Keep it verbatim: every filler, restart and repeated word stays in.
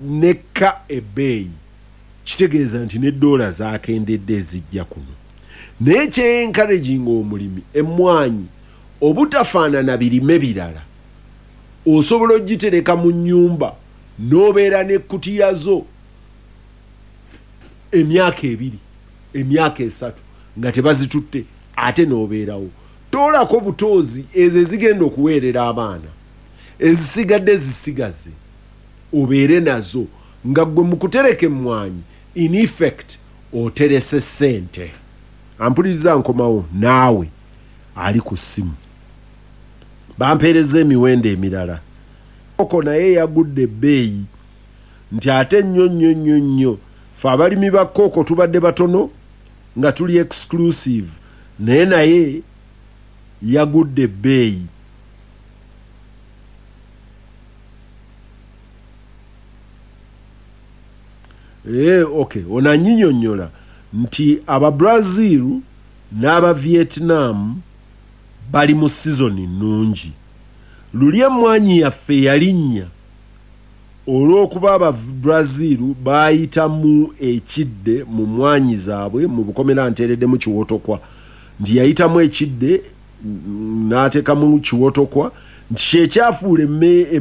Nekka ebbeeyi, kitegeeza nti ne ddoola zakendedde ezijja kuno. Naye kye encouraging omulimi, emmwanyi obutafaanana birime birala, osobola ogitereka mu nnyumba n'obeera n'ekkutiya zo emyaka ebiri, emyaka esatu nga tebazitutte, ate n'obeerawo toolako butoozi ezo ezigenda okuweerera abaana, ezisigadde zisigaze obeere nazo. Nga ggwe mu kutereka emmwanyi, in effect oterese ssente. Ampuliriza, nkomawo naawe ali ku ssimu. Bampeereza emiwendo emirala. Koko naye yagudde ebbeeyi nti ate nnyo nnyo nnyo nnyo. Fe abalimi ba kooko tubadde batono nga tuli exclusive, naye naye yagudde ebbeeyi. Ee, okay, ono anyinyonnyola nti Ababrazil n'aba Vietnam bali mu sizoni nnungi. Luli emmwanyi yaffe yalinnya olw'okuba Ababrazil baayitamu ekidde mu mmwanyi zaabwe. Mu bukomera nteereddemu kiwotokwa, nti yayitamu ekidde, mm, n'ateekamu kiwotokwa, nti kyekyafuula emme